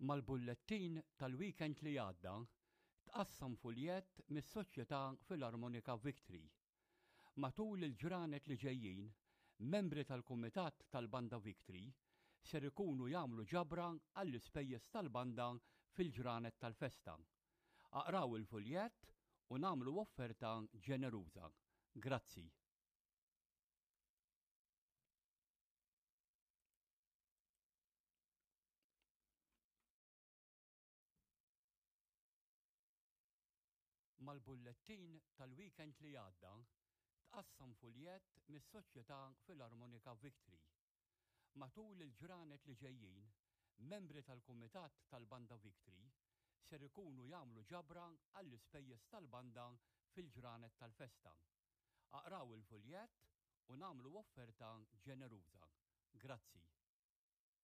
Mal-bullettin tal-weekend li għadda tqassam fuljett mis-Soċjetà Filarmonika Victory. Matul il-ġranet li ġejjin, membri tal-Kumitat tal-Banda Victory ser ikunu jagħmlu ġabra għall-ispejjeż tal-banda fil-ġranet tal-festa. Aqraw il-fuljett u nagħmlu offerta ġeneruża. Grazzi. Mal-bullettin tal-weekend li għadda tqassam fuljett mis-Soċjetà Filarmonika Victory. Matul il-ġranet li ġejjin, membri tal-Kumitat tal-Banda Victory ser ikunu jagħmlu ġabra għall-ispejjeż tal-banda fil-ġranet tal-festa. Aqraw il-fuljett u nagħmlu offerta ġeneruża. Grazzi.